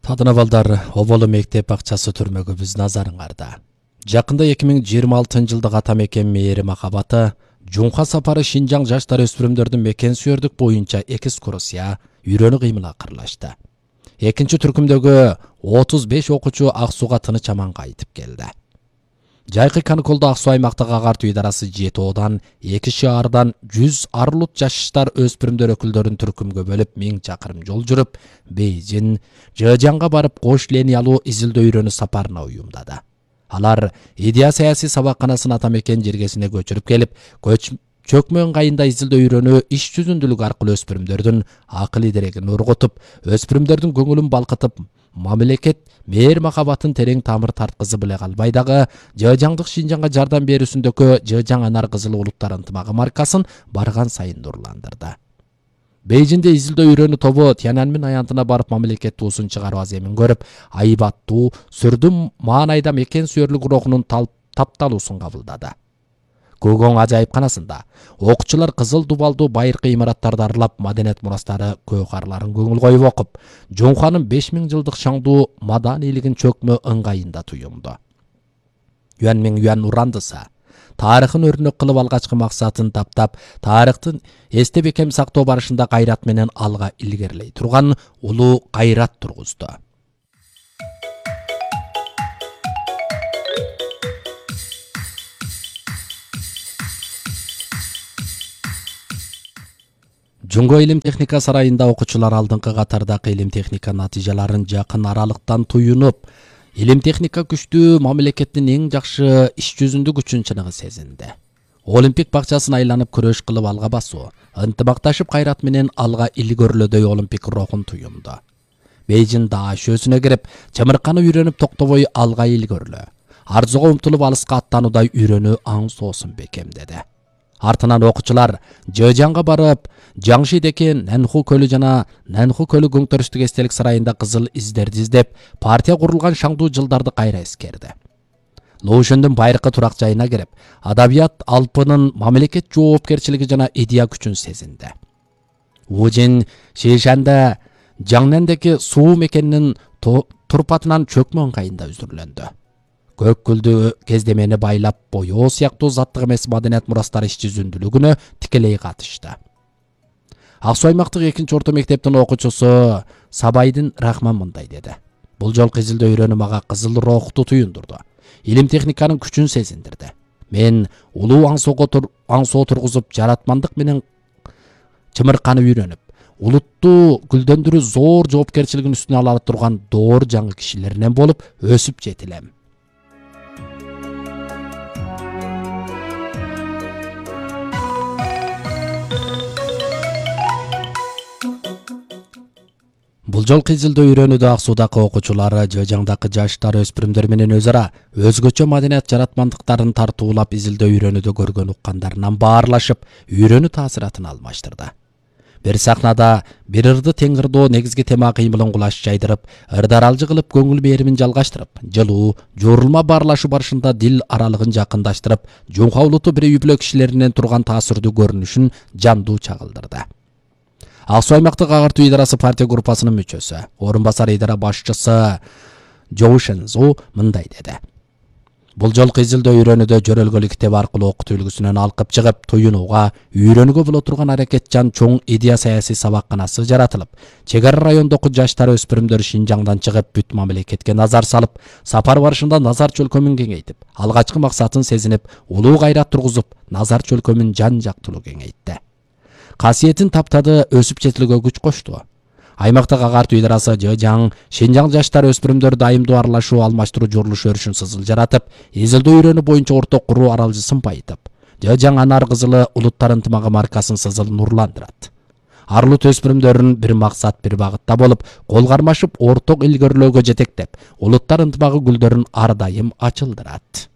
Тадына балдар, Оболу мектеп акчасы түрмөгүбүз назарыңарда. Жакында 2026 жылдык ата мекен мээри махабаты Жунха сапары Шинжаң жаштар өспүрүмдөрдүн мекен сүйөрдүк боюнча экскурсия үйрөнүү кыймыл акырлашты. Экинчи түркүмдөгү 35 окуучу Ак Сууга тыныч аман кайтып келди. Жайкы каникулда Ак Суу аймактык агартуу идарасы 7Одан 2 шаардан 100 арылут жаштар өспүрүмдөр өкүлдөрүн түркүмгө бөлүп 1000 чакырым жол жүрүп, Бейжин, Жэжянга барып кош линиялуу изилдөө үйрөнүү сапарына уюмдады. Алар идея саясий сабакканасын ата мекен жергесине көчүрүп келип, чөкмө ыңгайында изилдөө үйрөнүү иш жүзүндүүлүк аркылуу өспүрүмдөрдүн акыл идерегин ургутуп, өспүрүмдөрдүн көңүлүн балкытып, мамлекет мээр махабатын терең тамыр тарткызып эле калбай дагы Жэжяңдык Шинжаңга жардам берүүсүндөгү Жэжяң Анар Кызыл улуттар ынтымагы маркасын барган сайын нурландырды. Бейжинде изилдөө үйрөнүү тобу Тяньаньмин аянтына барып мамлекет туусун чыгаруу аземин көрүп, айбаттуу, сүрдүм маанайда мекен сүйөрлүк рухунун тапталуусун кабылдады. Көгөң ажайыпканасында окуучулар кызыл дубалдуу байыркы имараттарды аралап, маданият мурастары көкарларын көңүл коюп окуп, Жунханын 5000 жылдык шаңдуу маданийлигин чөкмө ыңгайында туюмду. Юанмиң Юан урандыса, тарыхын өрнөк кылып алгачкы максатын таптап, тарыхтын эсте бекем сактоо барышында кайрат менен алга илгерилей турган улуу кайрат тургузду. Жунго илим техника сарайында окуучулар алдыңкы катардагы илим техника натыйжаларын жакын аралыктан туюнуп, илим техника күчтүү мамлекеттин эң жакшы иш жүзүндүк үчүн чыныгы сезинди. Олимпик бакчасын айланып күрөш кылып алга басуу, ынтымакташып кайрат менен алга илгөрлөдөй олимпик рухун туюмду. Бейжин даашөсүнө кирип, чымырканы үйрөнүп токтобой алга илгөрлө, арзуга умтулуп алыска аттануудай үйрөнүү аң соосун бекемдеди. Артынан окуучулар Жэжянга барып, Жаңшидеки Нанху көлү жана Нанху көлү көңтөрүштүк эстелик сарайында кызыл издерди издеп, партия курулган шаңдуу жылдарды кайра эскерди. Лоушөндүн байыркы турак жайына кирип, адабият алпынын мамлекет жоопкерчилиги жана идея күчүн сезинди. Ужин Шишанда Жаңнендеки суу мекенинин турпатынан чөкмө ыңгайында үзүрлөндү. Көк гүлдү кездемени байлап, боёо сыяктуу заттык эмес маданият мурастары иш жүзүндүүлүгүнө тикелей катышты. Ак Суу аймактык 2-орто мектептин окуучусу Сабайдын Рахман мындай деди. Бул жолку изилдөө үйрөнүү мага кызыл рухту туюндурду. Илим техниканын күчүн сезиндирди. Мен улуу аң соо тургузуп, жаратмандык менен чымырканы үйрөнүп, улутту гүлдөндүрүү зор жоопкерчилигин үстүнө ала турган доор жаңы кишилеринен болуп өсүп жетилем. Бул жолку изилдөө үйрөнүүдө Ак Суудагы окуучулары Жэжяңдагы жаштар өспүрүмдөр менен өз ара өзгөчө маданият жаратмандыктарын тартуулап изилдөө үйрөнүүдө көргөн уккандарынан баарлашып, үйрөнүү таасиратын алмаштырды. Бир сахнада бир ырды тең ырдоо негизги тема кыймылын кулаш жайдырып, ырдаралжы кылып көңүл беримин жалгаштырып, жылуу, жорулма баарлашуу барышында дил аралыгын жакындаштырып, Жунха улуту бир үй-бүлө кишилеринен турган таасирдүү көрүнүшүн жандуу чагылдырды. Ак Суу аймактык агартуу идарасы партия группасынын мүчөсү, орун басар идара башчысы Жоу Шэнзу мындай деди. Бул жолку изилдөө үйрөнүүдө жөрөлгөлүк китеп аркылуу окутуу үлгүсүнөн алкып чыгып, туюнууга, үйрөнүүгө боло турган аракетчан чоң идея саясий сабакканасы жаратылып, чек ара райондогу жаштар өспүрүмдөр Шинжаңдан чыгып, бүт мамлекетке назар салып, сапар барышында назар чөлкөмүн кеңейтип, алгачкы максатын сезинип, улуу кайрат тургузуп, назар чөлкөмүн жан жактылуу кеңейтти. Касиетин таптады, өсүп жетилүүгө күч кошту. Аймактык агартуу идарасы Жэжяң, Шинжаң жаштар өспүрүмдөр дайымдуу аралашуу, алмаштыруу журулуш өрүшүн сызыл жаратып, изилдөө үйрөнүү боюнча орток куруу аралжысын байытып, Жэжяң Анар Кызылы улуттар ынтымагы маркасын сызыл нурландырат. Арылут өспүрүмдөрүн бир максат, бир багытта болуп, кол кармашып, орток илгөрлөөгө жетектеп, улуттар ынтымагы гүлдөрүн ар дайым ачылдырат.